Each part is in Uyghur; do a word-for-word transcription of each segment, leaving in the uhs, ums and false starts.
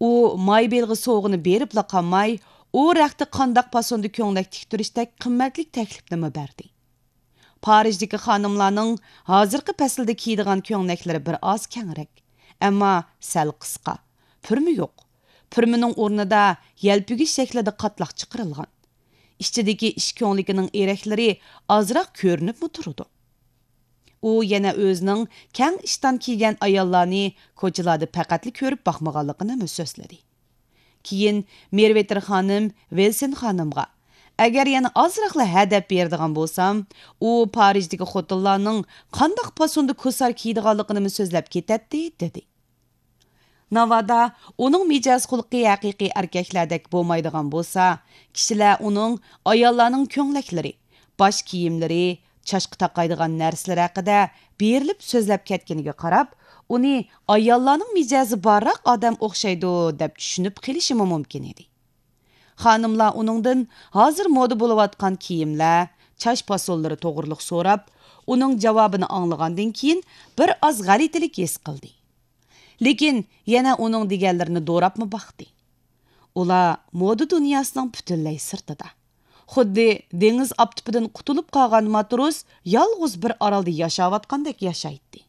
ئۇ مايبېلغا سوۋغىنى بېرىپلا قالماي، ئۇ رەختتە قانداق پاسوندا كۆڭلەك تىكتۈرۈشتەك قىممەتلىك تەكلىپنىمۇ بەردى. پارىژدىكى خانىملارنىڭ ھازىرقى پەسىلدە كىيىدىغان كۆڭلەكلىرى بىر ئاز كەڭرەك، ئەمما سەل قىسقا، پۈرمە يوق. پۈرمىنىڭ ئورنىدا يەلپۈگۈچ شەكلىدە قاتلاق چىقىرىلغان. ئىچىدىكى ئىش كۆڭلىكىنىڭ ئېرەكلىرى ئازراق كۆرۈنۈپمۇ تۇرىدۇ. ئۇ يەنە ئۆزىنىڭ كەڭ ئىشتان كىيگەن ئاياللارنى كوچىلاردا پەقەتلا كۆرۈپ باقمىغانلىقىنىمۇ سۆزلىدى. كېيىن مېرۋېتېر خانىم ۋىلسون خانىمغا، ئەگەر يەنە ئازراقلا ھە دەپ بېرىدىغان بولسام، ئۇ پارىژدىكى خوتۇنلارنىڭ قانداق پاسوندا كوسار كىيىدىغانلىقىنىمۇ سۆزلەپ كېتەتتى، دېدى. ناۋادا ئۇنىڭ مىجەز خۇلقى ھەقىقىي ئەركەكلەردەك بولمايدىغان بولسا، كىشىلەر ئۇنىڭ ئاياللارنىڭ كۆڭلەكلىرى، باش كىيىملىرى، چاچقا تاقايدىغان نەرسىلىرى ھەققىدە بېرىلىپ سۆزلەپ كەتكىنىگە قاراپ، ئۇنى ئاياللارنىڭ مىجەزى بارراق ئادەم ئوخشايدۇ، دەپ چۈشىنىپ قېلىشىمۇ مۇمكىن ئىدى. خانىملار ئۇنىڭدىن ھازىر مودا بولۇۋاتقان كىيىملەر، چاچ پاسونلىرى توغرىلىق سوراپ، ئۇنىڭ جاۋابىنى ئاڭلىغاندىن كېيىن بىر ئاز غەلىتىلىك ھېس قىلدى. لېكىن يەنە ئۇنىڭ دېگەنلىرىنى دوراپمۇ باقتى. ئۇلار مودا دۇنياسىنىڭ پۈتۈنلەي سىرتىدا. خۇددى دېڭىز ئاپتىپىدىن قۇتۇلۇپ قالغان ماتروس يالغۇز بىر ئارالدا ياشاۋاتقاندەك ياشايتتى.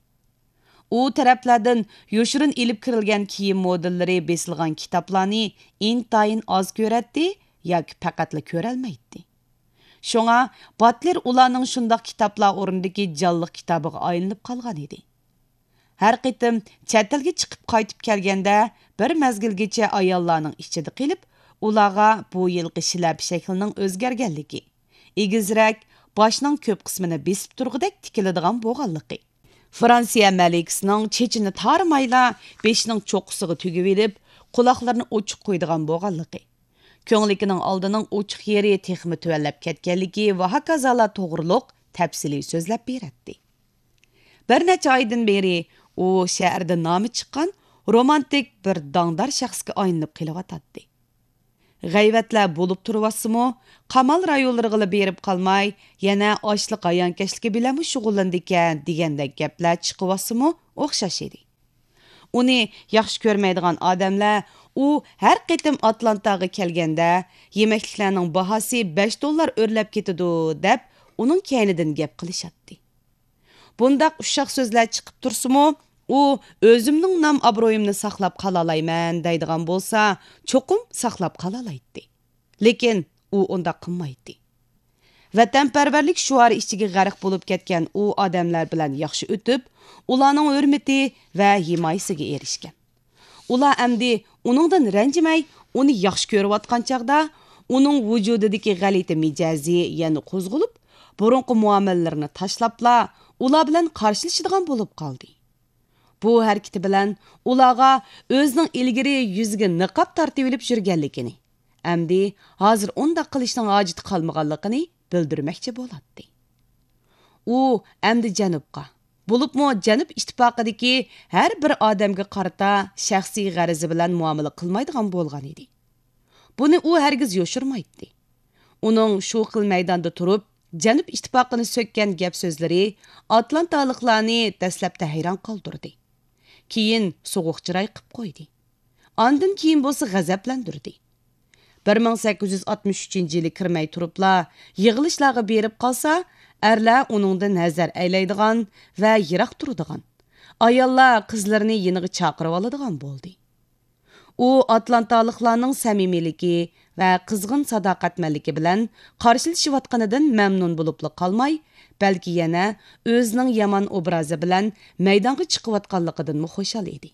ئۇ تەرەپلەردىن يوشۇرۇن ئېلىپ كىرىلگەن كىيىم مودېللىرى بېسىلغان كىتابلارنى ئىنتايىن ئاز كۆرەتتى ياكى پەقەتلا كۆرەلمەيتتى. شۇڭا باتلېر ئۇلارنىڭ شۇنداق كىتابلار ئورنىدىكى جانلىق كىتابىغا ئايلىنىپ قالغان ئىدى. ھەر قېتىم چەت ئەلگە چىقىپ قايتىپ كەلگەندە، بىر مەزگىلگىچە ئاياللارنىڭ ئىچىدە قېلىپ، ئۇلارغا بۇ يىلقى شىلەپە شەكلىنىڭ ئۆزگەرگەنلىكى، ئېگىزرەك، باشنىڭ كۆپ قىسمىنى بېسىپ تۇرغۇدەك تىكىلىدىغان بولغانلىقى، فرانسىيە مەلىكىسىنىڭ چېچىنى تارىمايلا بېشىنىڭ چوققىسىغا تۈگۈۋېلىپ، قۇلاقلىرىنى ئوچۇق قويىدىغان بولغانلىقى، كۆڭلىكىنىڭ ئالدىنىڭ ئوچۇق يېرى تېخىمۇ تۆۋەنلەپ كەتكەنلىكى ۋە ھاكازالار توغرۇلۇق تەپسىلىي سۆزلەپ بېرەتتى. بىر نەچچە ئايدىن بېرى ئۇ شەھەردە نامى چىققان رومانتىك بىر داڭدار شەخسكە ئايلىنىپ قېلىۋاتاتتى. غەيۋەتلەر بولۇپ تۇرۇۋاتسىمۇ، قامال رايونلىرىغىلا بېرىپ قالماي، يەنە ئاشلىق ھايانكەشلىكى بىلەنمۇ شۇغۇللىنىدىكەن دېگەندەك گەپلەر چىقىۋاتسىمۇ ئوخشاش ئىدى. ئۇنى ياخشى كۆرمەيدىغان ئادەملەر ئۇ ھەر قېتىم ئاتلانتاغا كەلگەندە، يېمەكلىكلەرنىڭ باھاسى بەش دوللار ئۆرلەپ كېتىدۇ، دەپ ئۇنىڭ كەينىدىن گەپ قىلىشاتتى. بۇنداق ئۇششاق سۆزلەر چىقىپ تۇرسىمۇ، ئۇ ئۆزۈمنىڭ نام-ئابرۇيۇمنى ساقلاپ قالالايمەن دەيدىغان بولسا، چوقۇم ساقلاپ قالالايتتى. لېكىن ئۇ ئۇنداق قىلمايتتى. ۋەتەنپەرۋەرلىك شوئارى ئىچىگە غەرق بولۇپ كەتكەن ئۇ ئادەملەر بىلەن ياخشى ئۆتۈپ، ئۇلارنىڭ ھۆرمىتى ۋە ھىمايىسىگە ئېرىشكەن. ئۇلار ئەمدى ئۇنىڭدىن رەنجىمەي، ئۇنى ياخشى كۆرۈۋاتقان چاغدا، ئۇنىڭ ۋۇجۇدىدىكى غەلىتە مىجەزى يەنە قوزغىلىپ، بۇرۇنقى مۇئامىلىلىرىنى تاشلاپلا، ئۇلار بىلەن قارشىلىشىدىغان بولۇپ قالدى. بۇ ھەرىكىتى بىلەن ئۇلارغا ئۆزىنىڭ ئىلگىرى يۈزىگە نىقاب تارتىۋېلىپ يۈرگەنلىكىنى، ئەمدى ھازىر ئۇنداق قىلىشنىڭ ھاجىتى قالمىغانلىقىنى بىلدۈرمەكچى بولاتتى. ئۇ ئەمدى جەنۇبقا، بولۇپمۇ جەنۇب ئىتتىپاقىدىكى ھەر بىر ئادەمگە قارىتا شەخسىي غەرىزى بىلەن مۇئامىلە قىلمايدىغان بولغان ئىدى. بۇنى ئۇ ھەرگىز يوشۇرمايتتى. ئۇنىڭ شۇ خىل مەيداندا تۇرۇپ، جەنۇب ئىتتىپاقىنى سۆككەن گەپ سۆزلىرى ئاتلانتالىقلارنى دەسلەپتە ھەيران قالدۇردى. كېيىن سوغۇق چىراي قىپ قويدى. ئاندىن كېيىن بولسا غەزەپلەندۈردى. بىر مىڭ سەككىز يۈز ئاتمىش ئۈچىنچى يىلى كىرمەي تۇرۇپلا يىغىلىشلارغا بېرىپ قالسا، ئەرلەر ئۇنىڭدىن نەزەر ئەيلەيدىغان ۋە يىراق تۇرىدىغان، ئاياللار قىزلىرىنى يېنىغا چاقىرىۋالىدىغان بولدى. ئۇ ئاتلانتالىقلارنىڭ سەمىمىيلىكى ۋە قىزغىن ساداقەتمەنلىكى بىلەن قارشىلىشىۋاتقىنىدىن مەمنۇن بولۇپلا قالماي، بەلكى يەنە ئۆزىنىڭ يامان ئوبرازى بىلەن مەيدانغا چىقىۋاتقانلىقىدىنمۇ خۇشال ئىدى.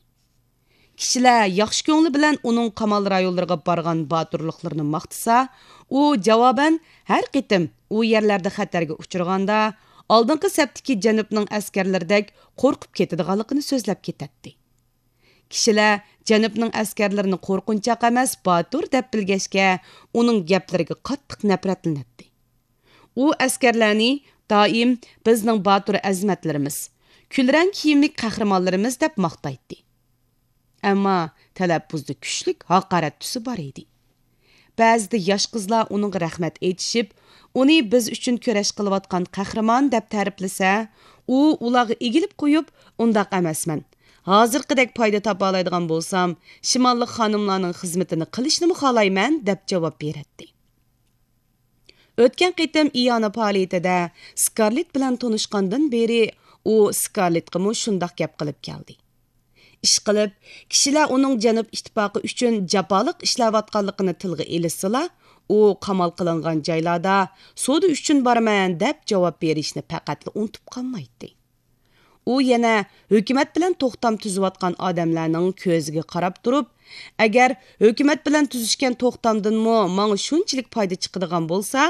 كىشىلەر ياخشى كۆڭلى بىلەن ئۇنىڭ قامال رايونلىرىغا بارغان باتۇرلۇقلىرىنى ماختىسا، ئۇ جاۋابەن ھەر قېتىم ئۇ يەرلەردە خەتەرگە ئۇچرىغاندا، ئالدىنقى سەپتىكى جەنۇبنىڭ ئەسكەرلىرىدەك قورقۇپ كېتىدىغانلىقىنى سۆزلەپ كېتەتتى. كىشىلەر جەنۇبنىڭ ئەسكەرلىرىنى قورقۇنچاق ئەمەس، باتۇر دەپ بىلگەچكە، ئۇنىڭ گەپلىرىگە قاتتىق نەپرەتلىنەتتى. ئۇ ئەسكەرلەرنى دائىم «بىزنىڭ باتۇر ئەزىمەتلىرىمىز، كۈلرەڭ كىيىملىك قەھرىمانلىرىمىز» دەپ ماختايتتى. ئەمما تەلەپپۇزدا كۈچلۈك ھاقارەت تۈسى بار ئىدى. بەزىدە ياش قىزلار ئۇنىڭغا رەھمەت ئېيتىشىپ، ئۇنى بىز ئۈچۈن كۈرەش قىلىۋاتقان قەھرىمان دەپ تەرىپلىسە، ئۇ ئۇلارغا ئېگىلىپ قويۇپ، «ئۇنداق ئەمەسمەن. ھازىرقىدەك پايدا تاپالايدىغان بولسام، شىماللىق خانىملارنىڭ خىزمىتىنى قىلىشنىمۇ خالايمەن، دەپ جاۋاب بېرەتتى. ئۆتكەن قېتىم ئىئانە پائالىيىتىدە سكارلېت بىلەن تونۇشقاندىن بېرى، ئۇ سكارلېتقىمۇ شۇنداق گەپ قىلىپ كەلدى. ئىشقىلىپ، كىشىلەر ئۇنىڭ جەنۇب ئىتتىپاقى ئۈچۈن جاپالىق ئىشلەۋاتقانلىقىنى تىلغا ئېلىشسىلا، ئۇ قامال قىلىنغان جايلاردا سودا ئۈچۈن بارىمەن دەپ جاۋاب بېرىشنى پەقەتلا ئۇنتۇپ قالمايتتى. ئۇ يەنە ھۆكۈمەت بىلەن توختام تۈزۈۋاتقان ئادەملەرنىڭ كۆزىگە قاراپ تۇرۇپ، ئەگەر ھۆكۈمەت بىلەن تۈزۈشكەن توختامدىنمۇ ماڭا شۇنچىلىك پايدا چىقىدىغان بولسا،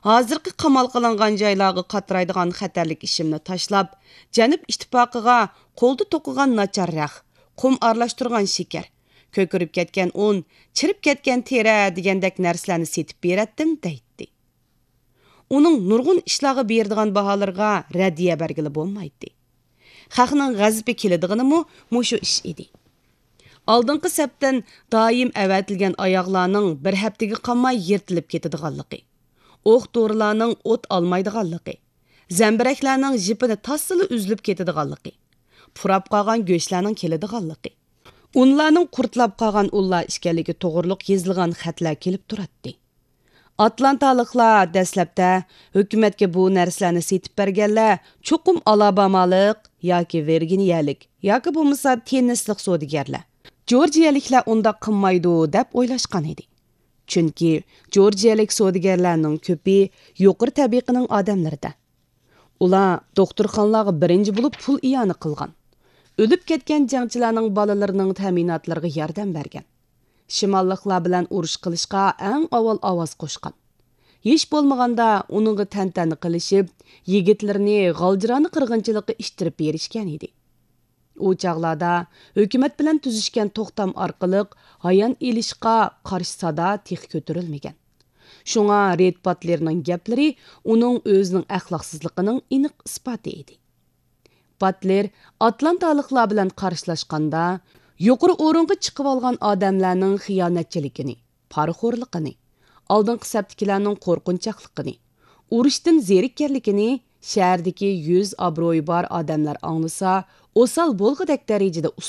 ھازىرقى قامال قىلىنغان جايلارغا قاترايدىغان خەتەرلىك ئىشىمنى تاشلاپ، جەنۇب ئىتتىپاقىغا قولدا توقۇغان ناچار رەخ، قۇم ئارىلاشتۇرغان شېكەر، كۆكىرىپ كەتكەن ئۇن، چىرىپ كەتكەن تېرە دېگەندەك نەرسىلەرنى سېتىپ بېرەتتىم، دەيتتى. ئۇنىڭ نۇرغۇن ئىشلارغا بېرىدىغان باھالىرىغا رەددىيە بەرگىلى بولمايتتى. خەقنىڭ غەزىپى كېلىدىغىنىمۇ مۇشۇ ئىش ئىدى. ئالدىنقى سەپتىن دائىم ئەۋەتىلگەن ئاياغلارنىڭ بىر ھەپتىگە قالماي يىرتىلىپ كېتىدىغانلىقى، ئوق دورىلارنىڭ ئوت ئالمايدىغانلىقى، زەمبىرەكلەرنىڭ ژىپىنى تاسسىلا ئۈزۈلۈپ كېتىدىغانلىقى، پۇراپ قالغان گۆشلەرنىڭ كېلىدىغانلىقى، ئۇنلارنىڭ قۇرتلاپ قالغان ئۇنلار ئىكەنلىكى توغرۇلۇق يېزىلغان خەتلەر كېلىپ تۇراتتى. ئاتلانتالىقلار دەسلەپتە ھۆكۈمەتكە بۇ نەرسىلەرنى سېتىپ بەرگەنلەر چوقۇم ئالابامالىق ياكى ۋىرگىنىيەلىك ياكى بولمىسا تېننىسلىق سودىگەرلەر، جورجىيەلىكلەر ئۇنداق قىلمايدۇ دەپ ئويلاشقان ئىدى. چۈنكى جورجىيەلىك سودىگەرلەرنىڭ كۆپى يۇقىرى تەبىقىنىڭ ئادەملىرىدە. ئۇلار دوختۇرخانىلارغا بىرىنچى بولۇپ پۇل ئىئانە قىلغان. ئۆلۈپ كەتكەن جەڭچىلەرنىڭ بالىلىرىنىڭ تەمىناتلىرىغا ياردەم بەرگەن. شىماللىقلار بىلەن ئۇرۇش قىلىشقا ئەڭ ئاۋۋال ئاۋاز قوشقان. ھېچ بولمىغاندا ئۇنىڭغا تەنتەنە قىلىشىپ، يىگىتلىرىنى غالجىرانا قىرغىنچىلىققا ئىتتىرىپ بېرىشكەن ئىدى. ئۇ چاغلاردا ھۆكۈمەت بىلەن تۈزۈشكەن توختام ئارقىلىق ھايان ئېلىشقا قارشى سادا تېخى كۆتۈرۈلمىگەن. شۇڭا رېد باتلېرنىڭ گەپلىرى ئۇنىڭ ئۆزىنىڭ ئەخلاقسىزلىقىنىڭ ئېنىق ئىسپاتى ئىدى. باتلېر ئاتلانتالىقلار بىلەن قارشىلاشقاندا، يۇقىرى ئورۇنغا چىقىۋالغان ئادەملەرنىڭ خىيانەتچىلىكىنى، پارىخورلۇقىنى، ئالدىنقى سەپتىكىلەرنىڭ قورقۇنچاقلىقىنى، ئۇرۇشتىن زېرىككەنلىكىنى شەھەردىكى يۈز ئابرۇيى بار ئادەملەر ئاڭلىسا، ئوسال بولغۇدەك دەرىجىدە